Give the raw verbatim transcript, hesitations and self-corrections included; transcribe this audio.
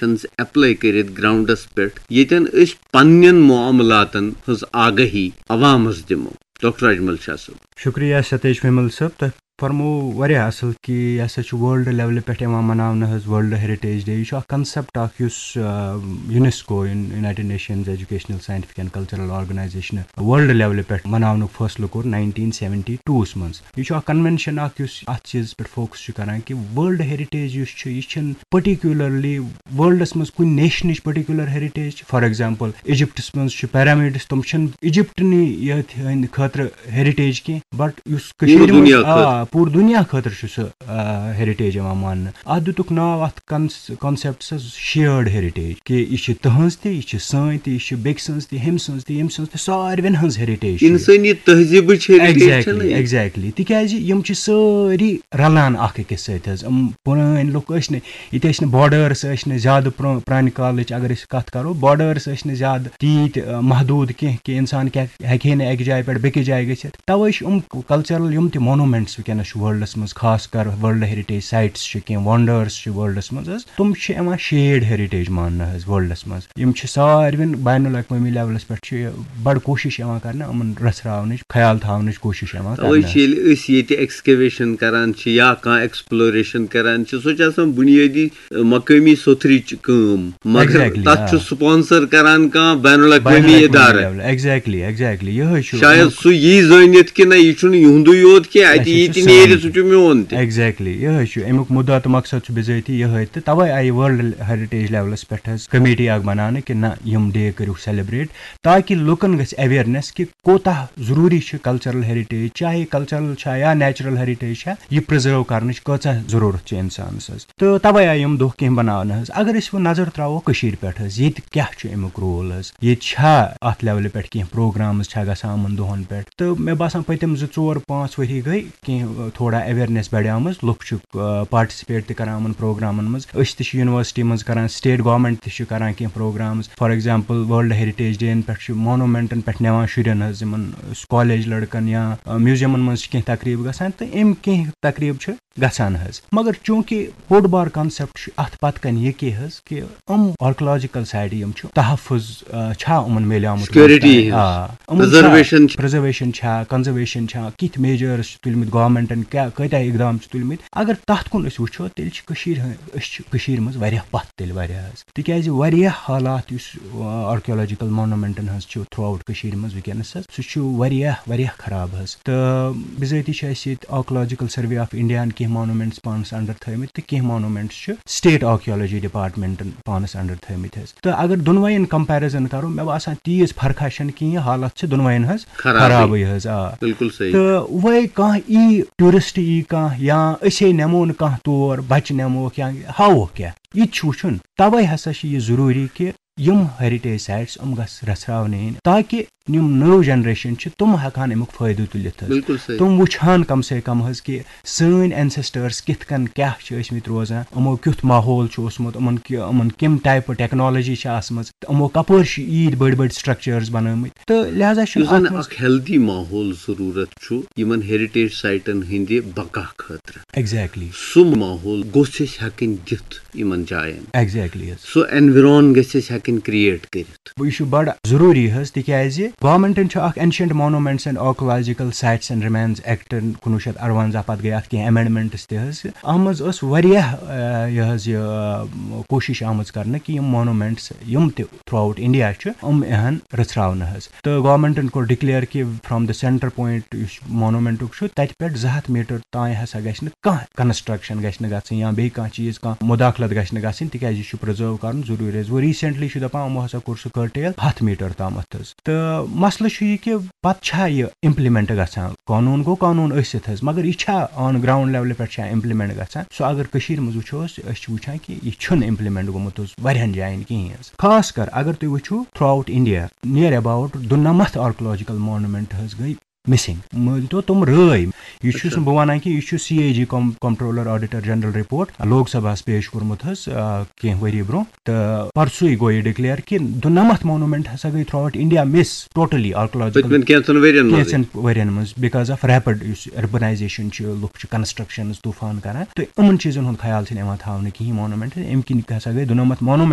Actions apply کٔرِتھ grounds پٮ۪ٹھ، ییٚتٮ۪ن أسۍ پننٮ۪ن معاملاتن ہٕنٛز آگاہی عوامس دِمو؟ ڈاکٹر اجمل شاہ صٲب۔ شکریہ ستیش ومل صٲب، تۄہہِ فرموو واریاہ اصل کہِ یہِ ہسا چھُ ورلڈ لیولہِ پٮ۪ٹھ یِوان مناونہٕ حظ، ورلڈ ہیریٹیج ڈے۔ یہِ چھُ اکھ کنسپٹ اکھ یُس UNESCO, united nations educational scientific and cultural organization world لیولہِ پٮ۪ٹھ مناونُک فٲصلہٕ کوٚر ناینٹیٖن سیونٹی ٹوٗہس منٛز۔ یہِ چھُ اکھ کنونشن اکھ یُس اتھ چیٖزس پٮ۪ٹھ فوکس چھُ کران کہِ ورلڈ ہیریٹیج یُس چھُ، یہِ چھُنہٕ پٔرٹیکیولرلی ورلڈس منٛز کُنہِ نیشنٕچ پٔرٹیکیولر ہیریٹیج چھِ۔ فار ایگزامپل، ایجپٹس منٛز چھِ پیرامڈس، تِم چھِنہٕ ایجپٹنٕے یٲتۍ ہٕنٛدِ خٲطرٕ ہیریٹیج کینٛہہ، بٹ یُس کٔشیٖرِ پوٗرٕ منٛز، دُنیا آ، خٲطرٕ۔ پوٗرٕ دُنیا خٲطرٕ چھُ سُہ، آ، ہیریٹیج یِوان ماننہٕ۔ اتھ دِتُکھ ناو اتھ کن-، کنسپٹس شیئرڈ ہیریٹیج، کہِ یہِ چھِ تُہنٛز تہِ، یہِ چھِ سٲنۍ تہِ، یہِ چھِ بیٚکہِ سٕنٛز تہِ، ہیٚمہِ سٕنٛز تہِ، ییٚمہِ سٕنٛز تہِ، ساروٮ۪ن ہٕنٛز ہیریٹیج چھِ یہِ۔ انسٲنی تہذیٖبٕچ ہیریٹیج چھےٚ نہ ایگزیکٹلی، یہِ؟ ایگزیکٹلی۔ تِکیازِ یِم چھِ سٲری رلان اکھ أکِس سۭتۍ حظ۔ یِم پرٲنۍ لُکھ ٲسۍ نہٕ، ییٚتہِ ٲسۍ نہٕ بارڈٲرٕس، ٲسۍ نہٕ زیادٕ پرٛو-، پرٛانہِ کالٕچ اگر أسۍ کَتھ کَرو، بارڈٲرٕس ٲسۍ نہٕ زیادٕ تیٖتۍ، آ، محدوٗد کینٛہہ کہِ اِنسان کیٛاہ ہیٚکہِ ہے نہٕ اَکہِ جایہِ پٮ۪ٹھ بیٚکِس جایہِ گٔژھِتھ۔ تَوَے چھِ یِم کلچرل یِم تہِ مونومینٹس وٕنکیٚنَس چھِ ورلڈس منٛز، خاص کر ورلڈ ہیریٹیج سائٹس چھِ، کینٛہہ ونڈٲرٕس چھِ ورلڈس منٛز حظ، تِم چھِ یِوان شیڈ ہیریٹیج ماننہٕ حظ ورلڈس منٛز۔ یِم چھِ ساروٮ۪ن بین الاقوٲمی لیولس پٮ۪ٹھ چھِ یہِ بڑٕ کوٗشش یِوان کرنہٕ، یِمن رژھراونٕچ، خیال تھاونٕچ کوٗشش یِوان توے کرنہٕ۔ چھِ ییٚلہِ أسۍ ییٚتہِ ایکسکیویشن کران چھِ یا کانٛہہ ایکسپلوریشن کران چھِ، سۄ چھِ آسان بُنیٲدی، ٲ، مقٲمی سوٚتھرٕچ کٲم، مگر exactly، تتھ آ۔ چھُ سپانسر کران کانٛہہ بین الاقوٲمی بین الاقوٲمی ادارٕ۔ لیولہِ، exactly، exactly، یِہوٚے چھُ شاید اَمیُک سُہ یی زٲنِتھ کہِ نہ، یہِ چھُنہٕ یِہُنٛدُے یوت کینٛہہ، اَتہِ اَسہِ یی چھُ تہِ نیرِ، سورُے۔ سُہ چھُ میون تہِ۔ Exactly، یِہوٚے چھُ اَمیُک مُدعا تہٕ مقصد چھُ بِذٲتی یِہوٚے تہٕ توے آیہِ ورلڈ ہیریٹیج لیولس پٮ۪ٹھ حظ کمیٹی اکھ بناونہٕ کہِ نہ، یِم ڈے کٔرِو سیلیبریٹ، تاکہِ لُکن گژھِ اویئرنیس کہِ کوتاہ ضروٗری چھِ کلچرل ہیریٹیج، چاہے کلچرل چھا یا نیچرل ہیریٹیج چھا، یہِ پرزرو کرنٕچ کۭژاہ ضروٗرت چھِ انسانس حظ۔ تہٕ توے آیہِ یِم دۄہ کینٛہہ بناونہٕ حظ۔ اگر أسۍ وۄنۍ نظر تراوو کٔشیٖرِ پٮ۪ٹھ حظ، ییٚتہِ کیٛاہ چھُ امیُک رول حظ؟ ییٚتہِ چھا اتھ لیولہِ پٮ۪ٹھ کینٛہہ پروگرامز چھا گژھان یِمن دۄہن پٮ۪ٹھ؟ تہٕ مےٚ باسان پٔتِم زٕ ژور پانٛژھ ؤری گٔے کینٛہہ، ٲ، تھوڑا اویئرنیس بڑیمٕژ، لُکھ چھِ، ٲ، پارٹیسپیٹ تہِ کران یِمن پروگرامن منٛز۔ أسۍ تہِ چھِ یونیورسٹی منٛز کران، سٹیٹ گورنمنٹ تہِ چھِ کران کینٛہہ programmes. For example, world heritage day یَن پٮ۪ٹھ چھِ مونومینٹن پٮ۪ٹھ نِوان شُرٮ۪ن حظ، یِمن، ٲ، کالج لڑکن یا، ٲ، میوزیمن منٛز چھِ کینٛہہ تقریٖب گژھان، تہٕ یِم کینٛہہ تقریٖب چھِ گژھان حظ۔ مگر چوٗنٛکہِ بوٚڑ بار کانسیپٹ چھُ اَتھ پَتہٕ کَنہِ یہِ کہِ حظ کہِ یِم آرکیولوجیکل سایٹہٕ یِم چھِ، تحفظ، آ، چھا یِمَن میلیومُت سیکیورٹی وٕنیُک تام؟ ہِنٛز، آ، یِمَن چھا پرزرویشن چھِ۔ پرزرویشن چھا، کنزرویشن چھا، کِتھۍ میجٲرٕس چھِ تُلمٕتۍ گورنمنٹن، کیٛاہ، کۭتیٛاہ اقدام چھِ تُلمٕتۍ؟ اگر تَتھ کُن أسۍ وٕچھو، تیٚلہِ چھِ کٔشیٖرِ ہٕنٛز، أسۍ چھِ کٔشیٖرِ منٛز واریاہ پَتھ تیٚلہِ واریاہ حظ۔ تِکیٛازِ واریاہ حالات یُس، آ، آرکیولوجیکل مونومینٹن ہٕنٛز چھِ تھرٛوٗ آوُٹ کٔشیٖرِ منٛز وٕنکیٚنَس حظ، سُہ چھُ واریاہ، واریاہ خراب حظ۔ تہٕ بِذٲتی چھِ اَسہِ ییٚتہِ آرکیولوجیکل سروے آف انڈیاہَن کینٛہہ مونومینٹس پانَس انڈر تھٲومٕتۍ تہٕ کینٛہہ مونومینٹس چھِ سٹیٹ آرکیولوجی ڈپارٹمنٹن پانَس انڈر تھٲومٕتۍ حظ۔ تہٕ اگر دۄنوَیَن کمپیرزن کرو، مےٚ باسان تیٖژ فرقہ چھَنہٕ کِہیٖنۍ، حالت چھِ دۄنوَیَن ہٕنٛز خرابٕے۔ خرابٕے حظ، آ۔ بِلکُل صحیح۔ تہٕ وۄنۍ کانٛہہ یی، ٹوٗرسٹ یی کانٛہہ، یا أسے نِمو نہٕ کانٛہہ تور، بچہٕ نِموکھ یا ہاووکھ کیٛاہ، یہِ تہِ چھُ وٕچھُن۔ توے ہسا چھِ یہِ ضروٗری کہِ یِم ہیریٹیج سایٹس یِم گژھِ رژھراونہٕ یِنۍ، تاکہِ یِم نٔو جنریشن چھِ، تِم ہٮ۪کہٕ ہن اَمیُک فٲیدٕ تُلِتھ حظ۔ بِلکُل صحیح۔ تِم وٕچھ ہن کم سے کم حظ کہِ سٲنۍ اینسیسٹٲرس کِتھ کٔنۍ کیٛاہ چھِ ٲسۍ مٕتۍ روزان، یِمو کیُتھ ماحول چھُ اوسمُت، یِمن کہِ-، یِمن کَمہِ ٹایپہٕ ٹیکنالوجی چھِ آسمٕژ، تہٕ یِمو کپٲرۍ چھِ ییٖتۍ بٔڑۍ بٔڑۍ سٹرکچٲرس بنٲومٕتۍ۔ تہٕ لہذا چھُ یُس زن اَتھ منٛز اکھ ہیلدی ماحول ضروٗرت چھُ یِمن ہیریٹیج سایٹن ہٕنٛدِ بقا خٲطرٕ۔ ایگزیکٹلی۔ سُہ ماحول گوٚژھ اَسہِ ہٮ۪کٕنۍ دِتھ یِمن جاین۔ ایگزیکٹلی حظ۔ سُہ اینویران گژھِ اَسہِ ہٮ۪کٕنۍ کریٹ کٔرِتھ۔ یہِ چھُ بڑٕ ضروٗری حظ، تِکیازِ گورنمنٹن چھُ اکھ Ancient Monuments and Archaeological Sites and Remains Act کُنوُہ شیٚتھ اَرونٛزاہ، پتہٕ گٔے اتھ کینٛہہ امینڈمنٹس تہِ حظ۔ اتھ منٛز ٲس واریاہ، آ، یہِ حظ یہِ، آ، کوٗشش آمٕژ کرنہٕ کہِ یِم مونومینٹس یِم تہِ تھرٛوٗ آوُٹ انڈیا چھِ، یِم یِہن رژھراونہٕ حظ۔ تہٕ گورنمنٹن کوٚر ڈکلیئر کہِ from the center point یُس مونومینٹُک چھُ، تتہِ پٮ۪ٹھ زٕ ہتھ میٹر تام ہسا گژھِ نہٕ کانٛہہ کنسٹرکشن گژھِ نہٕ گژھٕنۍ یا بیٚیہِ کانٛہہ چیٖز، کانٛہہ مداخلت گژھِ نہٕ گژھٕنۍ، تِکیازِ یہِ چھُ پرزرو کرُن ضروٗری حظ۔ وۄنۍ ریسنٹلی چھُ دپان یِمو ہسا کوٚر سُہ کرٹیل ہتھ میٹر تامتھ حظ۔ تہٕ مسلہٕ چھُ یہِ کہِ پتہٕ چھا یہِ امپلمنٹ گژھان؟ قونوٗن گوٚو قونوٗن ٲسِتھ حظ، مگر یہِ چھا آن گراؤنڈ لیولہِ پٮ۪ٹھ چھا امپلمنٹ گژھان؟ سُہ اگر کٔشیٖرِ منٛز وٕچھو أسۍ، أسۍ چھِ وٕچھان کہِ یہِ چھُنہٕ امپلمنٹ گوٚمُت حظ واریاہن جاین کِہیٖنۍ حظ۔ خاص کر اگر تُہۍ وٕچھِو throughout India near about دُنمتھ آرکیولوجیکل مونومینٹ حظ گٔے مسنگ۔ مٲنۍ تو تِم رٲے۔ یہِ چھُس اچھا۔ نہٕ بہٕ وَنان کہِ یہِ چھُ سی اے جی کم-، کمپٹرولر آڈیٹر جنرل رپورٹ لوک سبھاہَس پیش کوٚرمُت حظ، آ، کینٛہہ ؤری برونٛہہ۔ تہٕ پرسُے گوٚو یہِ ڈکلیئر کہِ دُنمتھ مونومینٹ ہسا گٔے تھرٛوٗ آوُٹ انڈیا مس ٹوٹلی آرکیولوجیکل پٔتمٮ۪ن کینٛژن ؤرین منٛز۔ کینٛژن ؤرین منٛز، because of rapid یُس اربنائزیشن چھِ، لُکھ چھِ کنسٹرکشنز طوفان کران، تہٕ یِمن چیٖزن ہُنٛد خیال چھِنہٕ یِوان تھاونہٕ کِہیٖنۍ۔ مونومینٹ امہِ کِنۍ ہسا گٔے دُنمتھ مونومینٹ